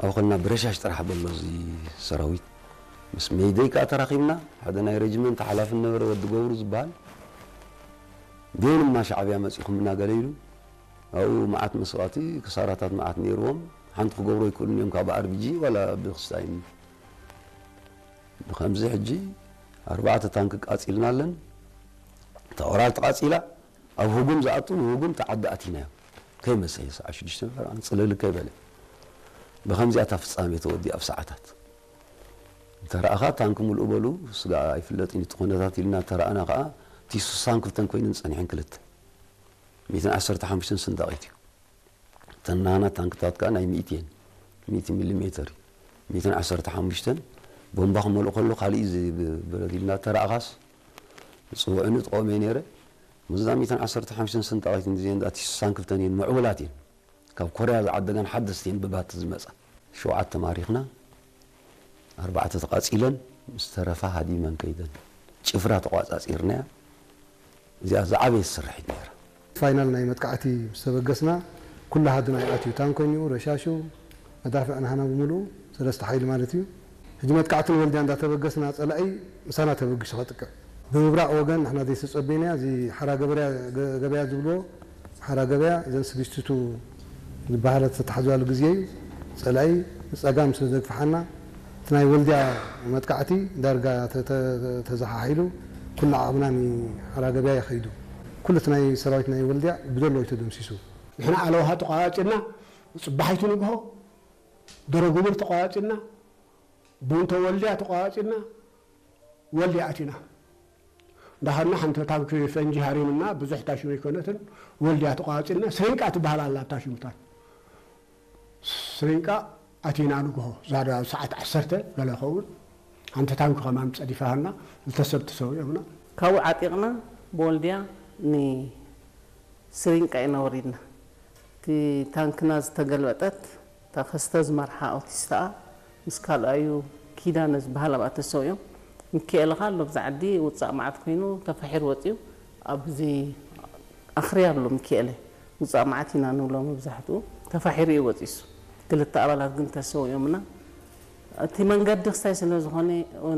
ኣብኡ ከልና ብረሻሽ ጥራሕ በሎ እዚ ሰራዊት። ምስ ሜይደይ ከኣ ተራኺብና፣ ሓደ ናይ ሬጅመንት ሓላፊ ነበረ ወዲ ገብሩ ዝበሃል። ዴንማ ሻዕብያ መጺኹምና ገለ ኢሉ። ኣብኡ መዓት መስዋእቲ፣ ክሳራታት መዓት ነይርዎም። ሓንቲ ክገብሩ ኣይክእሉን እዮም ካብ ኣርቢጂ ዋላ ብክስታይን። ብኸምዚ ሕጂ ኣርባዕተ ታንክ ቃጺልና ኣለን። እታ ኦራል ተቓጺላ፣ ኣብ ህጉም ዝኣቱ ንህጉም ተዓዲ ኣቲናዮ። ከይመሰየ ሰዓት ሽዱሽተ ፈረቓ ጽልል ከይበለ። ብኸምዚኣ እታ ፍጻሜ ተወዲኣ ኣብ ሰዓታት። እንተ ረኣኻ ታንክ ምልኡ በሉ፣ ስጋ ኣይፍለጥን እዩ እቲ ኩነታት ኢልና እንተ ረኣና ከኣ፣ እቲ ስሳን ክልተን ኮይነን ጸኒሐን ክልተ። ሚእትን ዓሰርተ ሓሙሽተን ስንዳቒት እዩ። እተን ናና ታንክታት ከኣ ናይ ሚእቲ እየን። ሚእቲ ሚሊ ሜተር እዩ። ሚእትን ዓሰርተ ሓሙሽተን ቦምባ ክመልኡ ከሎ፣ ካልእ እዩ ዝ-፣ ብ-፣ ብረት ኢልና እንተ ረኣኻስ፣ ጽውዕኒ ጥቖም እየ ነይረ። ምስዛ ሚእትን ዓሰርተ ሓሙሽተን ስንዳቒት እንዲዘን፣ እቲ ስሳን ክልተን እየን፣ ምዕቡላት እየን። ካብ ኮርያ ዝዓደጋን ሓደስቲ እየን ብባት ዝመጻ። ሸውዓተ ማሪኽና፣ ኣርባዕተ ተቓጺለን፣ ምስ ተረፋ ሃዲመን ከይደን። ጭፍራ ተቋጻጺርናያ። እዚኣ ዝዓበየት ስርሒት ነይራ። ፋይናል ናይ መጥቃዕቲ ምስ ተበገስና፣ ኩሉ ሃድና ይኣትዩ። ታንኮ እኒኡ፣ ረሻሹ፣ መዳፍዕ ናህና ብምሉኡ፣ ሰለስተ ሓይሊ ማለት እዩ። ሕጂ መጥቃዕቲ ንወልድያ እንዳተበገስና፣ ጸላኢ ምሳና ተበጊሱ ከጥቅዕ። ብምብራቕ ወገን ንሕና ዘይተጸበይናያ፣ እዚ ሓራ ገበርያ፣ ገ-፣ ገበያ ዝብልዎ፣ ሓራ ገበያ፣ እዘን ስድስቲቱ ዝበሃለት ዝተታሕዛሉ ግዜ እዩ። ጸላኢ ንጸጋም ስለ ዘግፍሓና፣ እቲ ናይ ወልድያ መጥቃዕቲ ዳርጋ ተ-፣ ተ-፣ ተዘሓሒሉ፣ ኩሉ ዓቕምና ንሓራ ገበያ እዩ ከይዱ። ኩሉ እቲ ናይ ሰራዊት ናይ ወልድያ ብደሎ እዩ ተደምሲሱ። ንሕና ኣለውሃ ተቋጺርና፣ ጽባሒቱ ንግሆ፣ ደረጉብር ተቋጺርና፣ ቡንቶ ወልድያ ተቋጺርና፣ ወልድያ ኣቲና። እንዳኸድና ሓንቲ ታንኪ ፈንጂ ሃሪምና፣ ብዙሕ ታሽሙ ኣይኮነትን፣ ወልድያ ተቋጺርና፣ ስሪንቃ ትበሃል ኣላ ኣብታ ሽምታ። ስሪንቃ ኣቲና ንግሆ፣ ዛዳ ሰዓት ዓሰርተ ገለ ኸውን፣ ሓንቲ ታንኪ ከማን ጸዲፋሃልና፣ ክልተ ሰብ ተሰዊኦምና። ካብኡ ዓጢቕና ብወልድያ ንስሪንቃ ኢና ወሪድና። እቲ ታንክና ዝተገልበጠት፣ እታ ከስተ ዝመርሓ ኣውቲስታኣ ምስ ካልኣዩ ኪዳነ ዝበሃል ኣብኣ ተሰዊኦም። ሚኪኤለ ኸኣ ኣሎ፣ ብዛ ዓዲ ውጻእ መዓት ኮይኑ ተፋሒሩ ወጺኡ። ኣብዚ ኣኽርያ ኣሎ ሚኪኤለ፣ ውጻእ መዓት ኢና ንብሎ መብዛሕትኡ። ተፋሒሩ እዩ ወጺሱ። ክልተ ኣባላት ግን ተሰዊኦምና። እቲ መንገዲ ክስታይ ስለ ዝኾነ፣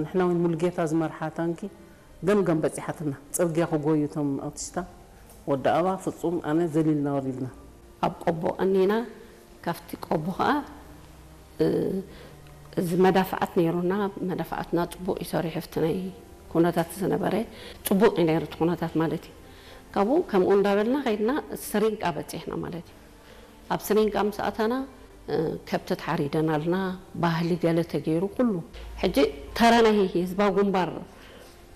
ንሕና እውን ሙሉጌታ ዝመርሓ ታንኪ ገምገም በጺሓትና። ጽርግያ ክጎዩ እቶም ኣውቲስታ፣ ወዲ ኣባ፣ ፍጹም፣ ኣነ ዘሊልና ወሪድና። ኣብ ቆቦ ቀኒና፣ ካብቲ ቆቦ ኸኣ፣ እ፣ እዚ መዳፍዓት ነይሩና። መዳፍዓትና ጽቡቕ እዩ ሰሪሑ፣ ኣብቲ ናይ ኩነታት ዝነበረ ጽቡቕ እዩ ነይሩ፣ እቲ ኩነታት ማለት እዩ። ካብኡ ከምኡ እንዳበልና ኸይድና፣ ስሪንቃ በጺሕና ማለት እዩ። ኣብ ስሪንቃ ምስ ኣተና፣ እ፣ ከብቲ ተሓሪደናልና፣ ባህሊ ገለ ተገይሩ፣ ኩሉ። ሕጂ ተራ ናይ ህዝባዊ ግንባር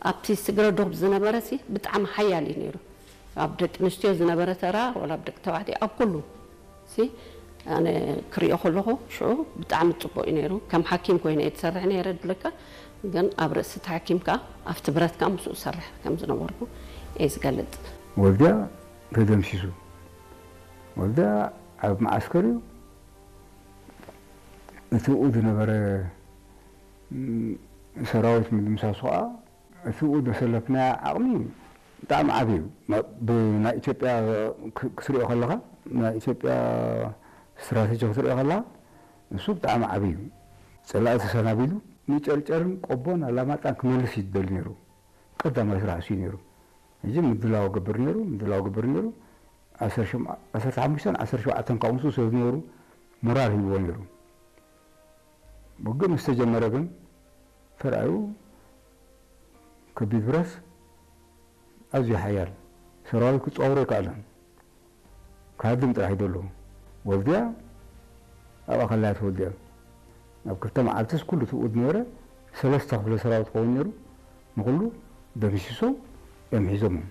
ኣብቲ ስግረ ዶብ ዝነበረ ሲ ብጣዕሚ ሓያል እዩ ነይሩ። ኣብ ደቂ ኣንስትዮ ዝነበረ ተራ፣ ወላ ኣብ ደቂ ተባዕትዮ፣ ኣብ ኩሉ ሲ ኣነ ክሪኦ ከለኹ ሽዑ ብጣዕሚ ጽቡቕ እዩ ነይሩ። ከም ሓኪም ኮይነ እየ ዝሰርሕ ነይረ ድብለካ፣ ግን ኣብ ርእሲ ተሓኪምካ ኣብቲ ብረትካ ምስኡ ዝሰርሕ ከም ዝነበርኩ እየ ዝገልጽ። ወልድያ ተደምሲሱ። ወልድያ ኣብ መዓስከር እዩ። እቲ ብኡ ዝነበረ፣ ም፣ ሰራዊት ምድምሳሱ ኸኣ፣ እቲ ብኡ ዘሰለፍናዮ ዓቕሚ ብጣዕሚ ዓቢ እዩ። ብ-፣ ብናይ ኢትዮጵያ ክ-፣ ክትሪኦ ከለኻ፣ ናይ ኢትዮጵያ ስትራተጂ ክትሪኦ ከለኻ፣ እሱ ብጣዕሚ ዓቢ እዩ። ጸላኢ ተሰናቢዱ ንጨርጨርን ቆቦን ኣላማጣን ክመልስ እዩ ዝደሊ ነይሩ። ቀዳማይ ስራሕ እሱ እዩ ነይሩ። ሕጂ ምድላው ገብር ነይሩ፣ ምድላው ገብር ነይሩ። ዓሰርተ ሸም-፣ ዓሰርተ ሓሙሽተን ዓሰርተ ሸውዓተን ካብኡ ምስኡ ስለ ዝነበሩ፣ ሞራል ሂብዎ ነይሩ። ውግእ ምስ ተጀመረ ግን፣ ተራእዩ ከቢድ ብረት ኣዝዩ ሓያል ሰራዊት ክጻወሮ ኣይከኣለን። ክሃድም ጥራሕ ይደሎ። ወልድያ ኣብኣ ከላ እያ ተወዲኣ። ኣብ ክልተ መዓልትስ ኩሉ ትብኡ ዝነበረ ሰለስተ ክፍለ ሰራዊት ክኸውን ነይሩ። ንኹሉ ደምሲሶም እዮም ሒዞሞም።